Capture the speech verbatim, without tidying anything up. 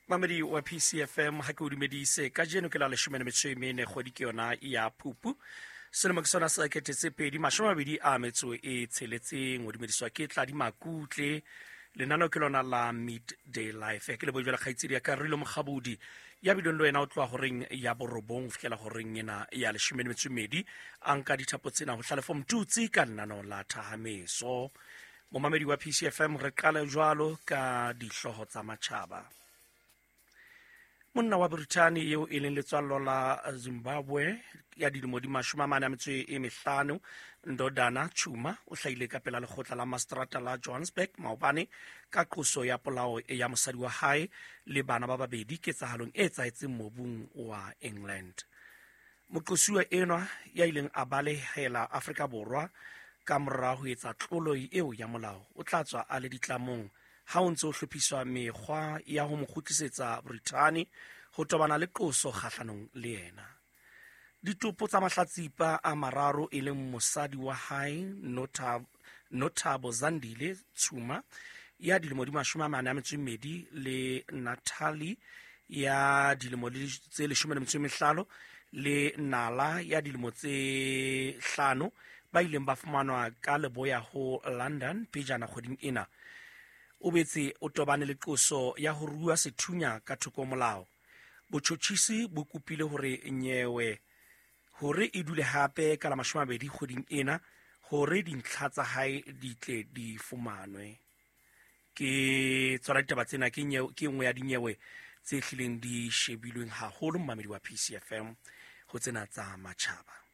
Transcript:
Mamedi wa P C F M, ha ke o dumedise kajeno ke la leshome le metso e mene kgwedi ke yona ya Phupu. Selemo ke sona sa sekete tse pedi mashome a mabedi a metso e tsheletseng. O dumediswa ke Tladi Makutle. Lenaneo ke lona la Midday Life. Ke leboha jwale kgaitsedi ya ka Rilo Mokgabudi ya bileng le wena o tloha horeng ya borobong ho fihlela horeng ena ya leshome le metso e mmedi. A nka dithapo tsena ho Hlalefo Mtutsi ka lenaneo la Thahameso. Momamedi wa P C F M, re qale jwalo ka dihlooho tsa matjhaba. Monna wa Brithani eo e leng letswallo la Zimbabwe ya dilemo di mashome a mane a metso e mehlano, Ndodana Chuma, o hlahile ka pela lekgotla la mastrata la Johannesburg maobane ka qoso ya polao ya mosadi wa hae le bana ba babedi ketsahalong e etsahetseng mobung wa England. Moqosuwa enwa ya ileng a balehela Afrika Borwa ka mora ho etsa tlolo eo ya molao o tla tswa a le ditlamong ha o ntse o hlophiswa mekgwa ya ho mo kgutlisetsa Brithani ho tobana le qoso kgahlanong le yena. Ditopo tsa mahlatsipa a mararo e leng mosadi wa hae Nothabo Zandile Tshuma ya dilemo di mashome a mane a metso e mmedi le Natalie ya dilemo tse leshome le metso e mehlano le Nala ya dilemo tse hlano ba ileng ba fumanwa ka leboya ho London pejana kgweding ena. O betse o tobane le qoso ya ho rua sethunya ka thoko molao. Botjhotjhisi bo kopile hore nyewe hore e dule hape ka la mashome a mabedi kgweding ena hore dintlha tsa hae di tle di fumanwe. Ke tsona ditaba tsena, ke nyewe, ke nngwe ya dinyewe tse hlileng di shebilweng haholo mmamedi wa P C F M ho tsena tsa matjhaba.